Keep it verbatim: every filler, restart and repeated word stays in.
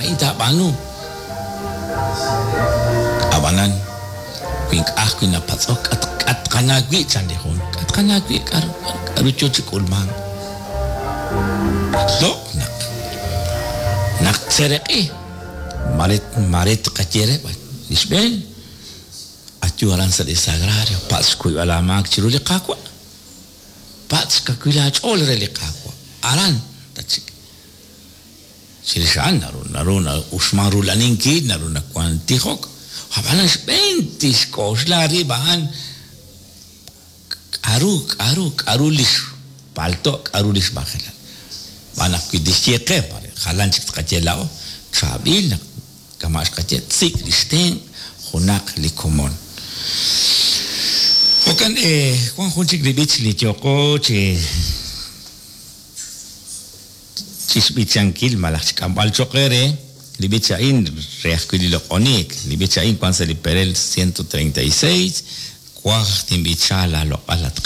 A'in taab'aanu. Ab'anan wi ink'a' ajwi' napatz'ok, k'a' tqana wi', chan li jun, k'a' tqana wi', k'aru k'aru yo chi k'ulmank. Loq' naq naq tseeraq'i, mare mare tqaye re li xb'een, ayu aran sa' li sagrario, patz' xkuyb'al aamaak chiru li Qaawa', patz' xkawil aach'ool re li Qaawa', aran tatxik. Chirix a'an naru naru na'uxman rula'aninkil, naru nawank tijok, ab'anan xb'een tixk'oxla rib' a'an k'aru k'aru k'aru li xpalto', k'aru li xmajelal. Xb'aan naq wi tixye qe, mare jalan chik tqaye laa'o, chaab'il naq kama' xqaye tsik' li xtenq' junaq li komon. Jo'kan wan jun chik li b'ich li yooqo chi chixb'ichankil malaj xk'amb'al cho'q eere, li b'ich a'in re ajwi' li loq'oniik, li b'ich a'in wan sa' li perel ciento treinta y seis, Twaj tinb'icha laaloq'al at